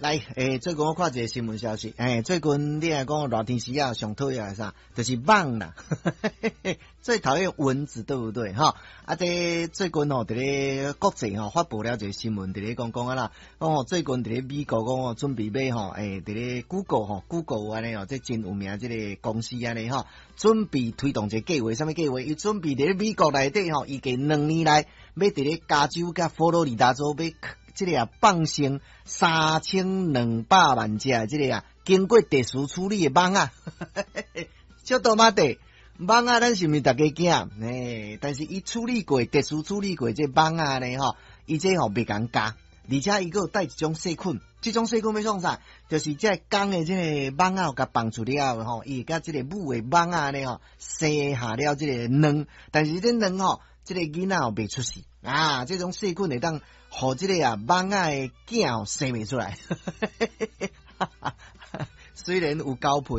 來，最近我看一个新聞消息，最近你來講熱天時啊，上討厭的啥，就是蠓啦，最討厭蚊子，對不對？哈，啊，這最近吼，佇咧國際吼發布了一个新聞，佇咧講講啊啦，講吼最近佇咧美國講吼準備欲吼，佇咧 Google 吼，Google 按呢哦，這真有名這个公司按呢吼，準備推動一个計劃，啥物計劃？伊準備佇咧美國內底吼，預計2年內欲佇咧加州佮佛羅里達州欲這个啊放生3200萬隻這个啊經過特殊處理的蠓仔，小多媽的蠓仔，咱是毋是逐家驚？但是伊處理過特殊處理過這蠓仔呢吼，伊這吼袂共咬，而且伊閣有帶一種細菌，這種細菌欲創啥？就是這公的這个蠓仔共放出了後吼，伊會佮這个母的蠓仔呢吼生下了這个卵，但是這卵吼，這个囡仔袂出世啊，這種細菌會當予這个啊蠓仔的囝生袂出來。雖然有交配。